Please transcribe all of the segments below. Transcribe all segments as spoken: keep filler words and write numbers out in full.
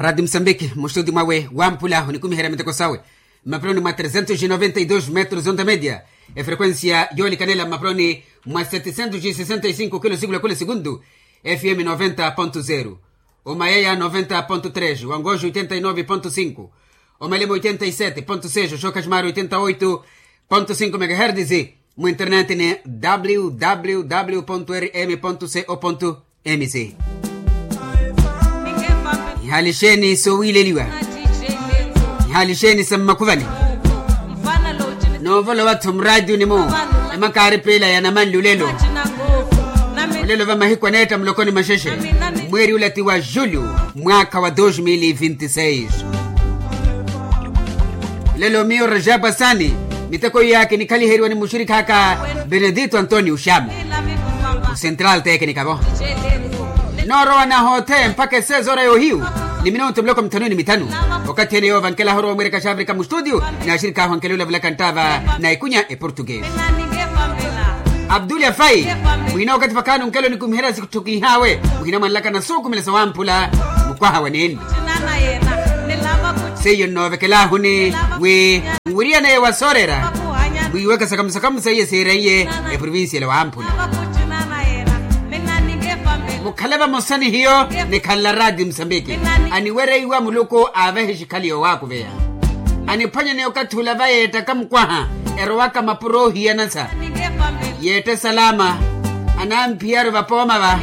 Rati musambiki mustuti mwawe wampula onikumiherya miteko sawe, mmapironi mwa tresentos e noventa e dos metros onta media, efrequencia yoolikanela mmapironi mwa setesentos e sesenta e cinco kilo sikula kula segundu, fm noventa ponto zero, omayaya noventa ponto tres, wangoxo oitenta e nove ponto cinco, omalemo oitenta e sete ponto seis, oxokaximari oitenta oito ponto cinco megaherdes. Mu internet ni www rm co mc. Ihalixeni sowiileliwa, ihalixeni sa mmakhuvani. Noovolowa-tho muraationi-mu emakaari piila ya namanli olelo. Olelo va mahiku aneetta mulokoni maxexe, mweeri ula ti wa julho, mwaakha wa dos mil e vinte e seis. Lelo miyo rajabu asani, miteko iya kinikhaliheryiwa ni muxirikh'aka benedito antonio xamu, o central teknikavo. Noorowa nahothe mpakha esezo ora yohiyu, ni minutu miloko mithanu ni mithanu. Okathi ene yoova nkelahu orowa omwireka xavirika mustutio, ni axirikh'ahu ankele olavulaka nttava na ikunya eportuguese. Abduli afai, muhina okathi vakhaani onkelo nikumiherya sitthukihawe, muhina mwanlaka na suukumela sawamphula mukwaha wa nenli. Seiyo nnoovekelahuni wi nwiriyaneye wa soorera, mwiiweke sakamusakamu seiye siiraiye eprovincia ela wamphula. Mukhale vamosa ni hiyo, nikhalela rati musambiki, aniwereiwa muluku aavehe xikhali yoowakuveya. Aniphwanyane okathi ula vayeettaka mukwaha, erowaka mapuro oohiyanasa, yeette salama, anamphiyaru vapooma va,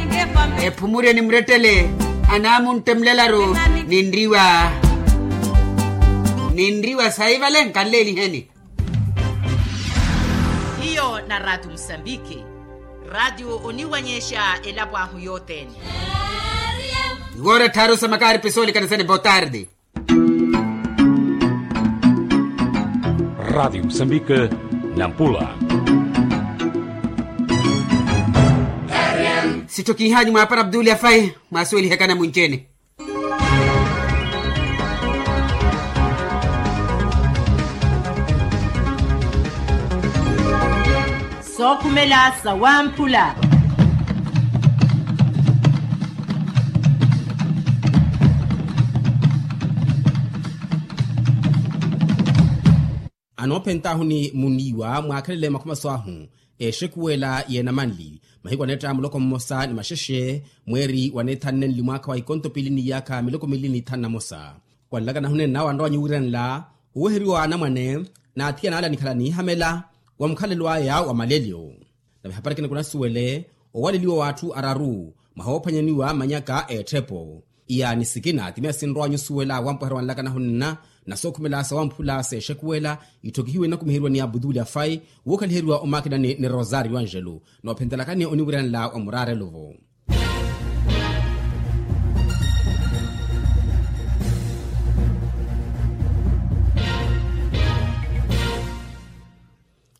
ephumurye ni murettele, anamuntte mulelaru, ninriwa ninriwa saivale nkanleeliheni. Hiyo na ratio musambiki, ratio oniwanyexa elapo ahu yothene. Iwoora ettharu sa makaari pisoolikanisani botarde. Ratio musambiki, nampula. Sitthokihanyu mwaapara abduli afai, mwaasuwelihaka namunci-ene. Sookhumela sawamphula. Anoophent'ahu ni muniiwa mwaakhelele makhumaso ahu, exekuwela y'enamanli mahiku aneetta muloko mmosa ni maxexe, mweeri wa neethanne nli mwaakha wa ikonto piili ni iyaakha miloko miili ni ithanu na mosa. Wanlaka nahunene nawe anrowa nyuwiranla oweheriwa wa anamwane, n'athiyana ale anikhala niihamela wa mukhalelo aya wa malelyo. Nave ehapari ekina kunasuwele owaleliwa w'atthu araru mwahoophwanyaniwa manyaka a etthepo. Iya ni sikina timiya sinrowa nyusuwela wampweherya wanlaka nahunena, na sookhumela sawamphula s'exekuwela itthokihiwe inakumiheriwa ni abutuli afai, wookaliheriwa omakinani ni rosario angelo. Noophentelakani oniwiranela wa muraarelo-vo.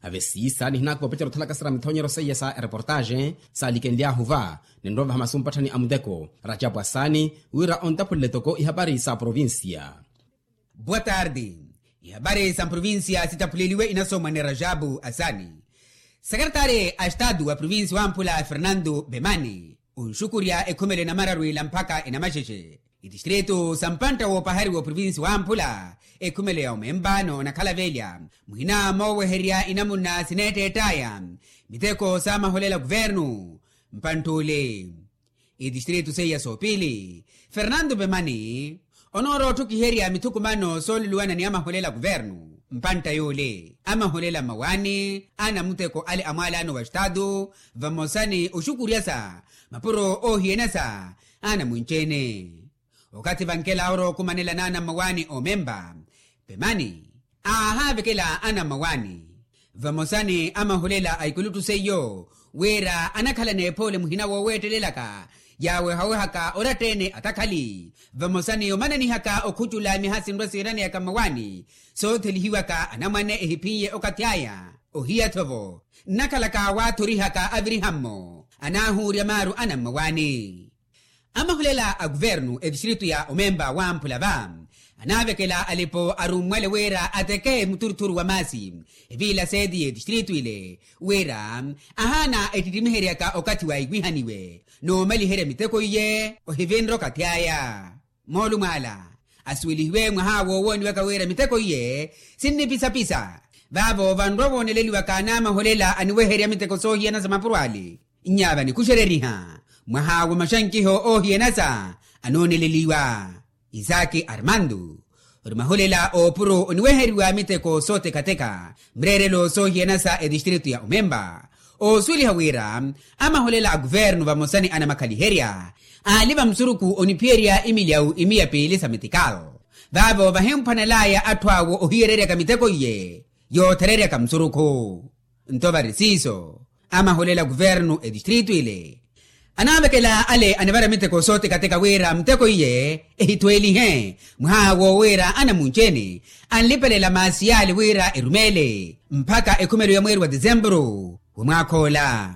Ave siisa nihinaka opetera othalaka sara mithonyero seiya sa ereportaxe saalikenly'ahu va, ninrovaha masu mpatthani a muteko rajapu asaani, wira ontaphulele toko ihapari sa provincia. Boa tarde. Ihapari sa mprovincia sitaphuleliwe inasomwa ni rajapu asaani. Sekeretari a estatu wa provincia wamphula fernando bemani, onxukurya ekhumelo enamararu ila mpakha enamaxexe. Itistritu sa mpantta woopahariwa oprovinsi wamphula, ekhumelo ya omempa n'onakhala velya, muhina mooweherya inamuna sineetteett'aya miteko saamaholela kuvernu. Mpantt'ule itistritu seiya soopili, fernando pemani onoorotthokiherya mithukumano sooluluwana ni amaholela kuvernu. Mpantta y'ule amaholela mmawaani a namuteko ale a mwaalano wa estatu, vamosa ni oxukuryasa mapuro oohiyanasa anamwinci-ene. Okathi vankela orowa okumanela n'anammawaani omempa, pemani aahaavekela anammawaani vamosa ni amaholela a ikuluttu seiyo, wira anakhala n'ephoole muhina wooweettelelaka yaawehawehaka oratta-ene atakhali, vamosa ni omananihaka okhucula miha sinrwa siiraneyaka mmawaani soothelihiwaka anamwane ehiphiye okathi aya. Ohiya-tho-vo nnakhalaka waathorihaka aviriha-mmo anaahuurya maaru anammawaani. Amahulela a kuvernu etistritu ya omempa wamphula va anaavekela alipo arummwale wira ateke muturuthuru wa maasi eviila seeti y'etistritu ile, wira ahaana ettittimiheryaka okathi waikwiihaniwe n'omaliherya miteko iye ohivinra okathi aya. Moolumo ala Asuwelihiwe mwaha woowooniwaka wira miteko iye sinnipisapisa. Vaavo vanrwa wooneleliwaka n'amaholela aniweherya miteko soohiyana sa mapuro ale. Nyaava nikuxereriha mwaha wa maxankiho oohiyanasa anooneleliwa. Isaki armando, ori maholela oopuro oniweheriwa miteko sootekateka mreerelo soohiyanasa etistritu ya omemba. Oosuweliha wira amaholela a kuvernu vamosa ni anamakhaliherya aali vamusuruku oniphiyerya imilyawu imiya piili sa mitikawo. Vaavo vahimphwanelaya atthu awo ohiyereryaka miteko iye yoothereryaka musurukhu. Nto vari siiso amaholela kuvernu etistritu ile anaavekela ale anivara miteko sootekateka wira muteko iye ehitweelihe mwaha woowiira anamunci-ene anlipelela maasi yaale wira erumeele mpakha ekhumelo ya mweeri wa tisempuru wa mwaakha ola.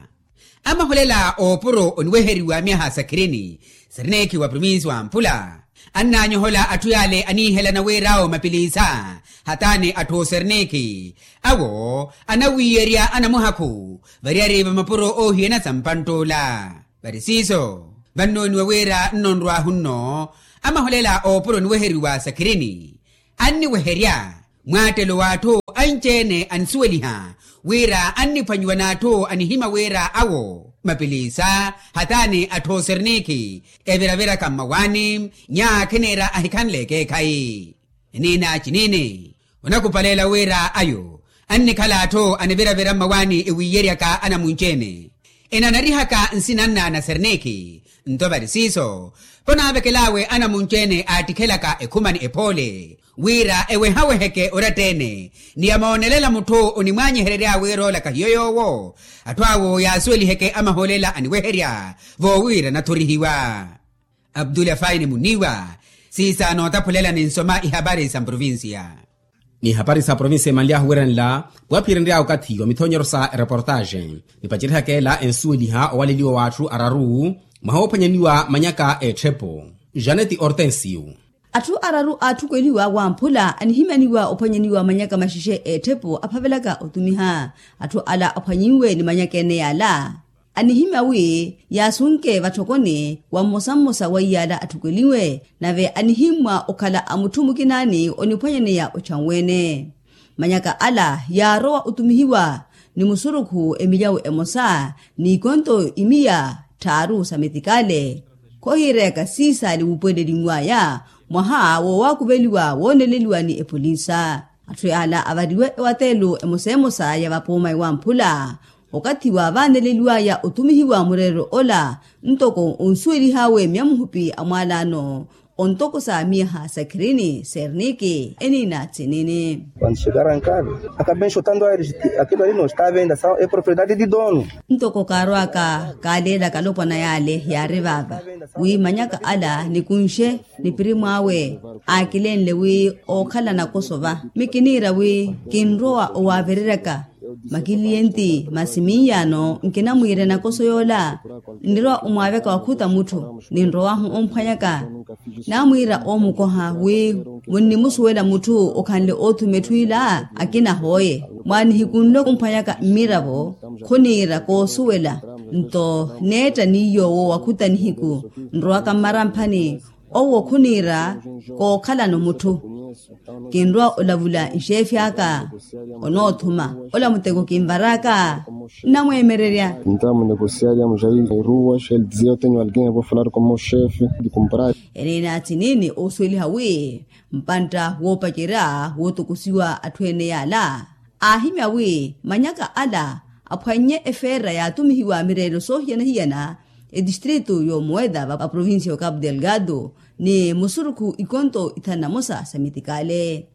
Amaholela oopuro oniweheriwa myaha sakhirini serinekhi wa provinsi wa mphula annaanyohola atthu yaale aniihelana wira awo mapiliisa hataani atthu oserinekhi awo anawiiyerya anamuhakhu variyari va mapuro oohiyana sa mpantt'ula. Vari siiso vannooniwa wira nnonrw'ahu nno amaholela oopuro oniweheriwa sakhirini anniweherya mwaattelo w'atthu anci-ene anisuweliha wira anniphwanyiwa n'atthu anihimya wira awo mapiliisa hataani atthu oserinekhi eviraviraka mmawaani nyakhi niira ahikhanle ekeekhayi. Eniina ciniini onakupalela wira ayo annikhala atthu aniviravira mmawaani ewiiyeryaka anamunci-ene enanarihaka nsina nnaana serinekhi. Nto vari siiso ponaavekel'awe anamunci-ene aattikhelaka ekhuma ni ephoole wira ewehaweheke oratta-ene ni yamoonelela mutthu onimwaanyiherery'awe wira oolaka hiyo yoowo atthu awo yaasuweliheke amaholela aniweherya voowiira anathorihiwa. Abdulafaini muniiwa siisa nootaphulelani nsoma ihapari sa mprovincia. Ni ihapari sa provincia emanly'ahu wiranla waphiyerenry'awe okathi wa mithonyero sa ereportaxe nipacerihaka ela ensuweliha owaleliwa w'atthu araru mwaha woophwanyaniwa manyaka a etthepo. Janeti ortensio. Atthu araru aatthukeliwa wamphula anihimyaniwa ophwanyaniwa manyaka maxexe a etthepo aphavelaka otumiha atthu ala aphwanyinwe ni manyaka ene yaala anihimya wi yaasunke vatthokoni wa mmosa mmosa wa iyaala atthukeliwe nave anihimmwa okhala a mutthu mukinaani oniphwanyaneya ochanwene. Manyaka ala yaarowa otumihiwa ni musurukhu emilyawu emosa n'ikonto imiya tthaaru sa metikale. Khohiireyaka siisaali wuupuweleliw'aya mwaha woowaakuveliwa wooneleliwa ni epolinsa. Atthu yaala avariwe ewateelo emosa emosa ya vapooma ewamphula okathi wa vaaneleliw'aya otumihiwa mureerero ola ntoko onsuwelih'awe miya muhupi a mwaalaano ontokosa miyaha sakhirini serniki eniina tsinini. Quando chegaram a casa, acabei enxotando a eles, aquilo ali não está à venda, são, é propriedade de dono. Ntoko kaarwaka kaaleelaka alopwana yaale yaari vaava wi manyaka ala nikunxe ni pirimu awe aakilenle wi ookhala nakoso va mi kiniira wi kinrowa owaavereryaka makiliyenti masi miiyano nkinamwiira enakoso yoola nnirowa omwaaveka wakhuta mutthu ninrowahu omphwanyaka naamwiira oomukoha wi munnimusuwela mutthu okhanle oothuma etthu ila akina ahooye mwaanihikunle omphwanyaka mmiravo khuniira koosuwela nto neetta ni yoowo wakhuta nihiku nrowaka mmaramphani owo khuniira kookhalano mutthu kinrowa olavula nxeefi aka onoothuma ola muteko kinvaraka nnamweemererya. Entamu negosiarya mujaili ruas ele dizia eu tenho alguém eu vou falar com meu chefe de comprar. Eniina tiniini oosuweliha wi mpantta woopacerya wootokosiwa atthu ene yaala aahimya wi manyaka ala aphwannye efeera yaatumihiwa mireelo soohiyana-hiyana etistritu y'omuweda va provincia y'ocapu delgado ni musurukhu ikonto ithanu na mosa sa mitikale.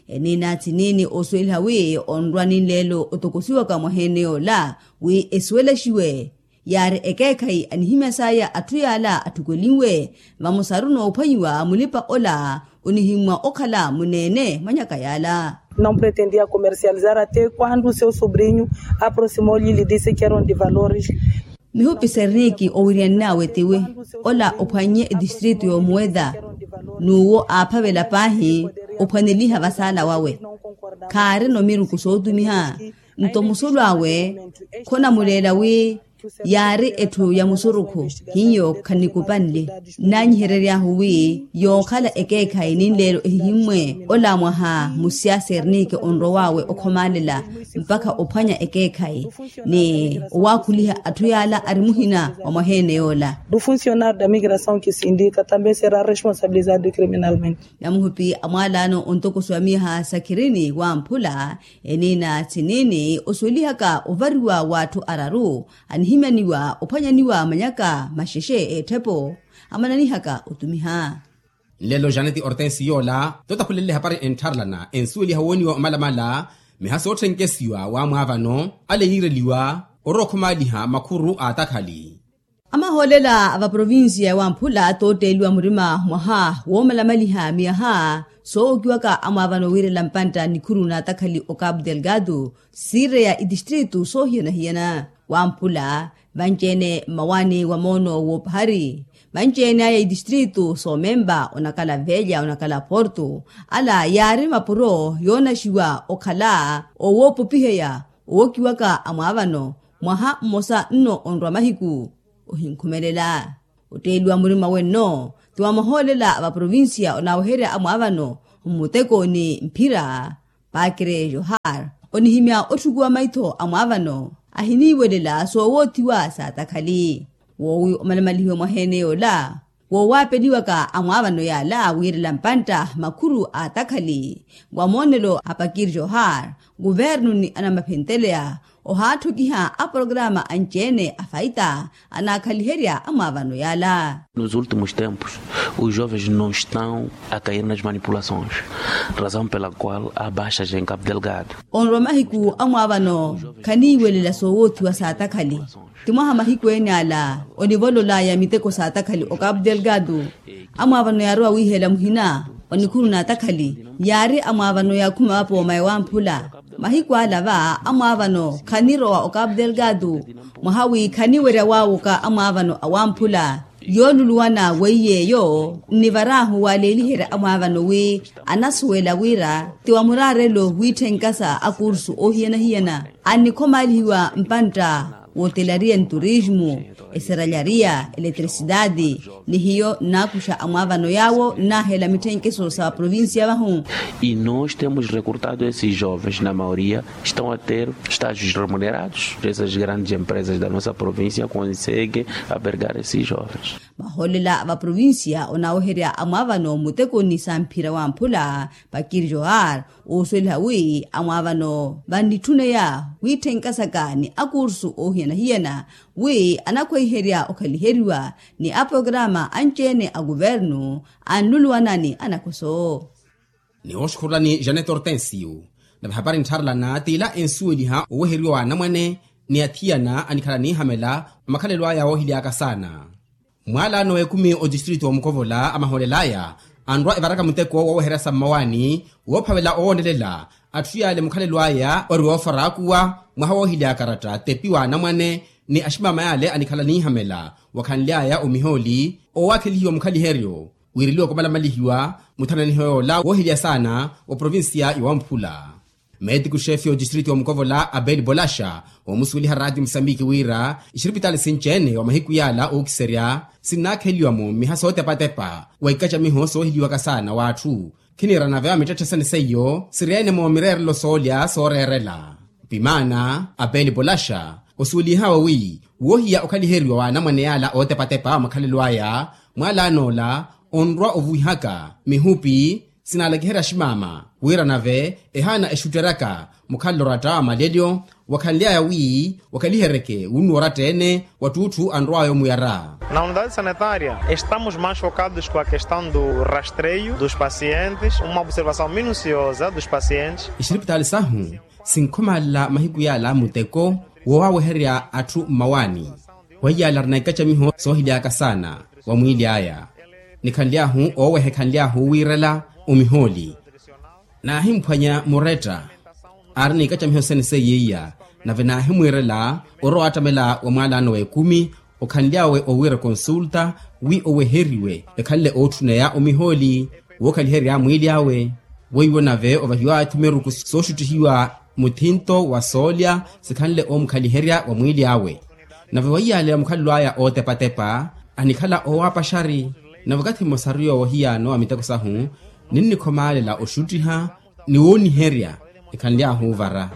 Eniina tiniini oosuweliha wi onrwa ninleelo otokosiwaka mwaha ene yoola wi esuwelaxiwe yaari ekeekhayi anihimya saya atthu yaala atthukelinwe vamosaru noophwanyiwa mulipa ola onihimmwa okhala muneene mwa nyaka yaala. Não pretendia comercializar até quando seu sobrinho aproximou-lhe e lhe disse que eram de valores. Mihupi serniki owiryannawe tiwi ola ophwannye etistritu y'omuweda n'uwo aaphavela paahi ophwaneliha vasaala wawe khaarino miruku sootumiha nto musulu awe khonamuleela wi Yaari etthu ya musurukhu hiyo khanikupanle. Nnanyiherery'ahu wi yookhala ekeekhayi ninleelo ehihimmwe ola mwaha musyaasa eriniike onrow'awe okhomaalela mpakha ophwanya ekeekhayi ni owaakhuliha atthu yaala ari muhina wa mwaha-ene yoola. Do funcionário da migração que se indica também será responsabilizado criminalmente. Namuhupi a mwaalaano ontokoso ya miyaha sakhirini wamphula eniina tsiniini osuwelihaka ovariwa w'atthu araru anihimyaniwa ophwanyaniwa manyaka maxexe eetthepo amananihaka otumiha. Nlelo janeti ortensi yoola totakhulelele hapari enttharelana ensuweliha wooniwa omalamala miha sootthenke siwa wamwaavano ale yiireliwa orowa okhomaaliha makhuru a atakhali. Amahoolela a vaprovincia wamphula tootteeliwa murima mwaha woomalamaliha miyaha soowokiwaka amwaavano wiirela mpantta nikhuru n'atakhali o cabo delgado siireya itistritu soohiyana-hiyana wamphula vanci-ene mmawaani wa moono w'opahari vanci-ene aya itistritu soomempa onakhala velha onakhala porto ala yaari mapuro yoonaxiwa okhala owoopopiheya owokiwaka amwaavano mwaha mmosa nno onrwa mahiku ohinkhumelela. Otteeliwa murima wenno ti wamahoolela a vaprovincia onaaweherya amwaavano mmuteko ni mphira pakre johar onihimya otthukuwa maitho amwaavano ahiniiwelela soowoothiwa saatakhali woowi omalamalihiwe mwaha-ene yoola woowaapeliwaka amwaavano yaala wiirela mpantta makhuru a atakhali wa moonelo a pakir johar kuvernu ni anamaphenteleya ohaatthokiha aporokaraama anci-ene a faita anaakhaliherya amwaavano yaala. Nos últimos tempos os jovens não estão a cair nas manipulações, razão pela qual há baixas em cabo delgado. Onrwa mahiku amwaavano khaniiwelela soowoothiwa saatakhali ti mwaha mahiku ene ala onivololaya miteko saatakhali o cabo delgado. Amwaavano yaarowa wiihela muhina wa nikhuru n'atakhali yaari amwaavano yaakhuma vapooma ewamphula mahiku ala va amwaavano khanirowa o cabo delgado mwaha wi khaniwerya waawoka amwaavano awamphula yooluluwana weiyeeyo nnivaraahu waleeliherya amwaavano wi anasuwela wira ti wa muraarelo wiitthenka sa akursu oohiyana-hiyana annikhomaalihiwa mpantta wootelariya nturismu eseralhariya eletrisidadi ni hiyo nnaakuxa amwaavano yaawo nnaahela mitthenkeso sa vaprovincia vahu. E nós temos recrutado esses jovens na maioria estão a ter estágios remunerados dessas grandes empresas da nossa província conseguem abergar esses jovens. Mahoolela a vaprovincia onaaweherya amwaavano mmutekoni sa mphira wamphula pakiri johar oosuweliha wi amwaavano vannitthuneya wiitthenka saka ni akursu oohiyana-hiyana wi anakhweiherya okhaliheriwa ni aporokaraama anci-ene a kuvernu anluluwana ni anakhoso. Ni oxukhurulani janet hortensio nave hapari nttharelana t'ila ensuweliha oweheriwa w'anamwane ni athiyana anikhala niihamela omakhalelo aya woohilyaka saana. Mwaalaano w'ekumi otistritu omukovola amahoolel'aya anrwa evaraka muteko wooweherya sa mmawaani woophavela owoonelela atthu yaale mukhalelo aya ori woofaraakuwa mwaha woohilya akaratta tepi w'anamwane ni aximama yaale anikhala niihamela wakhanly'aya omihooli owaakhelihiwa mukhaliheryo wiireliwaka omalamalihiwa muthananiho yoola woohilya saana wa provincia ya wamphula. Meetiku xeefe y'otistritu y'omukovola abeli bolaxa woomusuweliha raatiyo musambiki wira ixiripitaali sinci-ene wa mahiku yaala ookiserya sinnaakheliwa-mo mmiha sootepa-tepa wa ikacamiho soohiliwaka saana w'atthu. Khiniira nave wa mittetthe sene seiyo siri-ene-mo mireerelo soolya sooreerela. Pimaana abeli bolaxa osuwelihawe wi woohiya okhaliheriwa w'anamwane yaala ootepa-tepa wa makhalelo aya mwaalaan'ola onrwa ovuwihaka mihupi sinaalakiherya aximaama wira nave ehaana exutteryaka mukhalelo oratta wa malelyo wakhanly'aya wi wakhaliheryeke wunnuwa oratta-ene wattuutthu anrw'aya omuyara. Na unidade sanitária estamos mais focados com a questão do rastreio dos pacientes uma observação minuciosa dos pacientes. Ixiripitaali sahu sinkhomaalela mahiku yaala muteko woowaweherya atthu mmawaani weiyaala arina ikacamiho soohilyaka saana wa mwiili aya. Nikhanly'ahu ooweha ekhanly'ahu wiirela omihooli naahimphwanya muretta aari n'ikacamiho sene seiya iya nave naahimwiirela orowa wattamela wa mwaalaano w'ekumi okhanly'awe owiira konsulta wi oweheriwe ekhanle ootthuneya omihooli wookhaliherya mwiili awe weiwo nave ovahiw'awe thumeruku sooxuttihiwa muthinto wa soolya sikhanle oomukhaliherya wa mwiili awe. Nave weiyaaleya mukhalelo aya ootepatepa anikhala owaapaxari. Nave okathi mmosaru yoowo hiyaano a miteko sahu ninnikhomaalela oxuttiha ni wooniherya ekhanly'ahu ovara.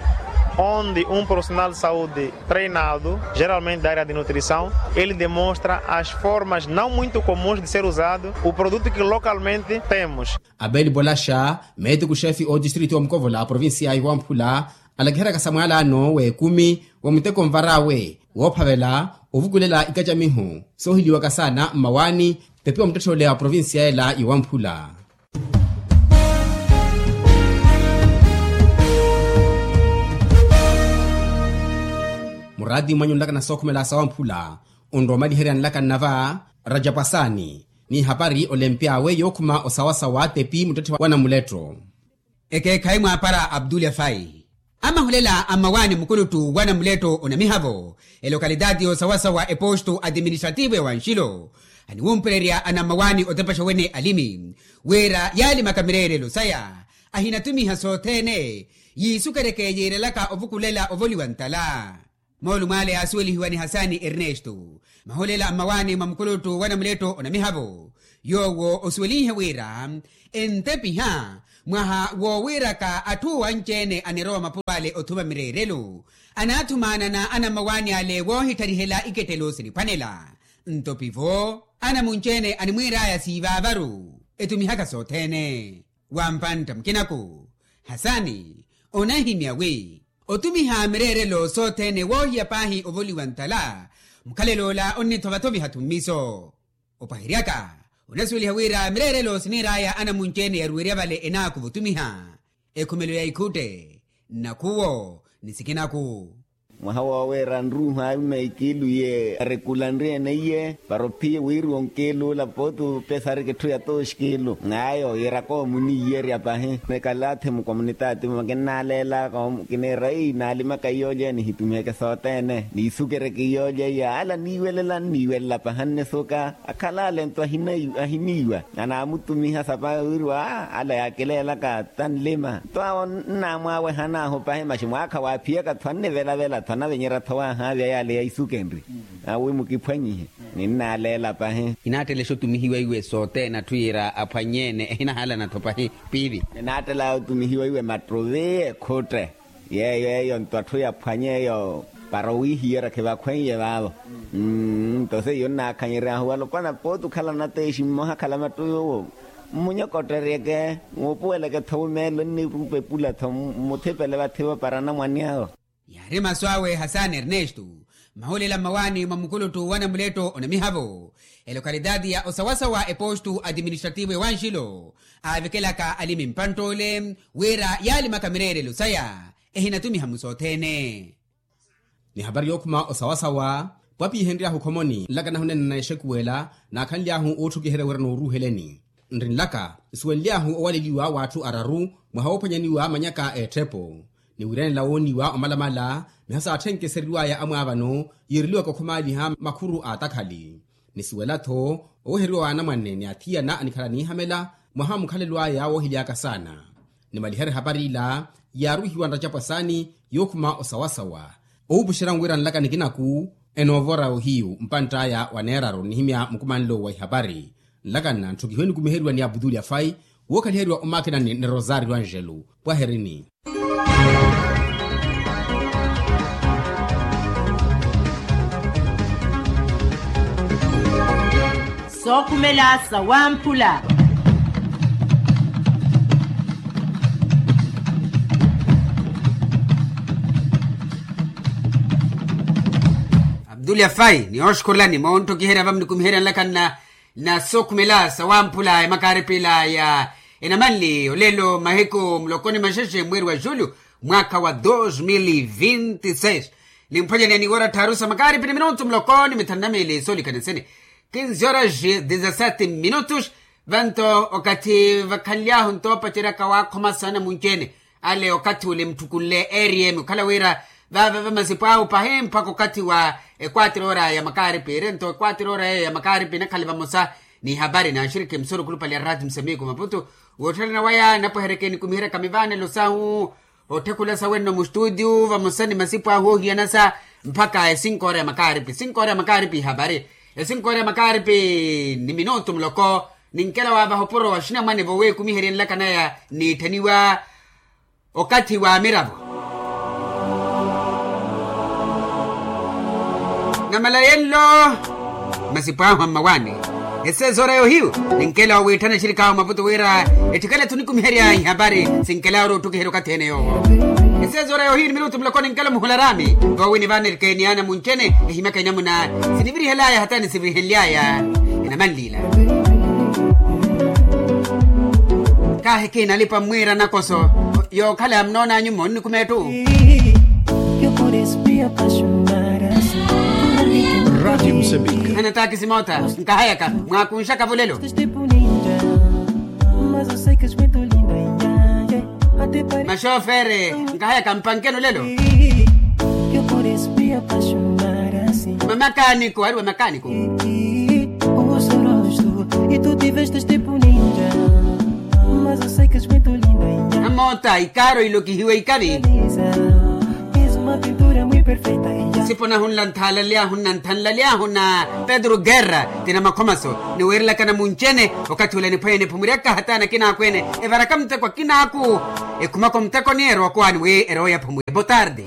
Onde um profissional de saúde treinado geralmente da área de nutrição, ele demonstra as formas não muito comuns de ser usado o produto que localmente temos. Abeli polaxa meetiku xeefi otistritu wa mukovola a provincia ya iwamphula alakiheryaka samwaalano w'ekumi wa muteko nvar'awe woophavela ovukulela ikacamiho soohiliwaka saana mmawaani tepi wa muttetthe ole a provincia ela yowamphula. Muraati mwanyu nlakana sookhumela sawamphula onrowa omaliherya nlakana va rajapwasani n'ihapari olempy'awe yookhuma osawasawa tepi muttetthe wa namuletto. Ekeekhayi mwaapara abdulya fayi amahulela a mmawaani mukuluttu wa namuletto onamihavo elokalitaati y'osawasawa epostu atiministrativu ewanxilo aniwumpererya anammawaani otepaxa wene alimi wira yaalimaka mireerelo saya ahinatumiha sothene yiisukeryeke yiirelaka ovukulela ovoliwa ntala. Moolumo ale yaasuwelihiwa ni hasani ernesto mahulela a mmawaani mwa mukuluttu wa namuletto onamihavo yoowo osuwelinhe wira entepiha mwaha woowiiraka atthu owanci-ene anirowa mapuro ale othuma mireerelo anaathumaanana anammawaani ale woohittarihela ikettelo siniphwanela. Nto pivo anamunci-ene animwiir'aya siivaavaru etumihaka sothene wa mpantta mukinaku hasani onahimya wi otumiha mireerelo sothene woohiya paahi ovoliwa ntala mukhalelo ola onnithovathoviha-tho mmiso. Opwaheryaka onasuweliha wira mireerelo siniir'aya anamunci-ene yaruwerya vale enaakuva otumiha ekhumelo ya ikhutte nnakhuwo ni sikinaku. Mwaha woowiira nruuhu aima ikiilu iye arekulanrye-ene iye para ophiye wiiriwa onkiilu ola pooti opesarika etthu ya tooxkiilu ng'aya oyiiraka omuniiyerya pahi. Nikalathi mukomunitaati mumakinnaaleelaka kiniira ei naalimaka iyoolya nihitumiheke sothene niisukeryeke iyoolya iya ala niiwelela nniiwelela pahi annisuka. Akhala ale nto ahiniiwa anaamutumiha sapa wiiriwa ala yaakileelaka tanlima nto awo nnaamwaawehan'ahu pahi maxi mwaakha waaphiyaka-tho annivelavela-tho anavenyerya-tho waahaavya yaale yaisukenrye awi mukiphwanyihe. Ninnaaleela pahi. Inaattelexa otumihiwa iwe sothene atthu yiira aphwanye-ene ehinahaalana-tho pahi piivi. Ninaattelaya otumihiwa iwe mattuvi ekhutte yeeyo eyo nto atthu yaphwanye eyo para owiihiyerya khivakhweiye vaavo. Nto seiyo nnaakhanyery'ahu alopwana pooti okhala nateexi mmoha akhala mattuvi owo mmunyokotteryeke muupuweleke-tho wumeelo nniipepula-tho mmuthipele vathi-vo para anamwane awo. Yaari masu awe hasani ernesto mahulela mmawaani mwa mukuluttu wa namuletto onamihavo elokalitaati ya osawasawa epostu atiministrativu ewanxilo aavikelaka alimi mpantt'ole wira yaalimaka mireerelo saya ehinatumiha-mu sothene. Ni hapari yookhuma osawasawa pwapihenry'ahu khomoni nlakanahu nene na exekuwela naakhanly'ahu ootthukiherya wira nooruuheleni nri nlaka nsuwenly'ahu owaleliwa w'atthu araru mwaha woophwanyaniwa manyaka a etthepo ni wiiranela wooniwa omalamala miha saatthenke eseriw'aya amwaavano yiireliwaka okhomaaliha makhuru a atakhali. Nisuwela-tho oweheriwa w'anamwane ni athiyana anikhala niihamela mwaha wa mukhalelo aya woohily'aka saana. Nimaliherye hapari ila yaaruhiwa nracapwasani yookhuma osawasawa owupuxerya nwira nlaka nikinaku enoovora ohiyu mpantt'aya wa neeraru nnihimya mukumanlo wa ihapari. Nlaka nna ntthukihiwe nikumiheriwa ni aputuli afai wookhaliheriwa omakinani ni rosario angelo pwaherini. Sookhumela sawamphula. Abdulya fai ni oxukhurulani moonttokiherya vamunikumiherya nlaka nna na sookhumela sawamphula ya makaaripi ila ya enamanli olelo mahiku muloko ni maxexe mweeri wa julho mwaakha wa dos mil vinti seis. Nimphwanyani ya niwora tthaaru sa makaaripi ni minutu muloko ni mithanu na miili soolikana nsene kinzi horas dezasete minutos. Vanto okathi vakhanly'ahu ntoopaceryaka waakhoma sana munci-ene ale okathi ule mutthukule ariyemi okhala wira vaava vamasipo ahu pahi mpakha okathi wa ekwatira ora ya makaaripi ire nto ekwatira ora eyo ya makaaripi inakhale vamosa n'ihapari n'axirikhi musurukhulupale ya raati musamiku maputu. Wootthana waya napweherekeni kumiheraka mivaanelo sahu otthekhula sawenno mustutiyu vamosa ni masipo ahu oohiyanasa Mpakha esinkoora ya makaaripi esinkoora ya makaaripi ihapari esinkoora ya makaaripi ni minutu muloko. Ninkela waavaha opuro wa xinamwane voweekumiheryenlaka naya niitthaniwa okathi wa miravo. Namalayenlo masipo ahu a mmawaani. Esezoora yohiyu ninkela owiitthana exirikaahu maputo wira etthikale-tho onikumiherya ihapari. Sinkela ori ottukiherya okathi ene yoowo. Esezoora yohiyu ni minutu muloko ninkela omuhula raami. Voowi nivaana erikeeni ana muncene ehimyaka inamuna sinivirihelaya hata nisivirihenlyaya. Inamanliila. Kaahi kiinalipa mmwiira nakoso. Yookhala yamunoonanyu mmoonnikuma ettu. Anataakisi moota nkahayaka mwaakunxaka-vo lelo. Maxofere nkahayaka mpankeni olelo. Mamakaaniko ari wamakaaniko. Amoota ikaaro ilokihiwe ikavi. Sipo nahunla nthaalalyaahu na nthanlalyaahu na pedro guerra ti namakhomaso niwiirelaka namuncene. Okathi ula niphwanya niphumuryaka hata nakinaakhu ene evaraka muteko akinaaku. Ekhumaka omuteko ni erookowaani wi erooya phumuya botarde.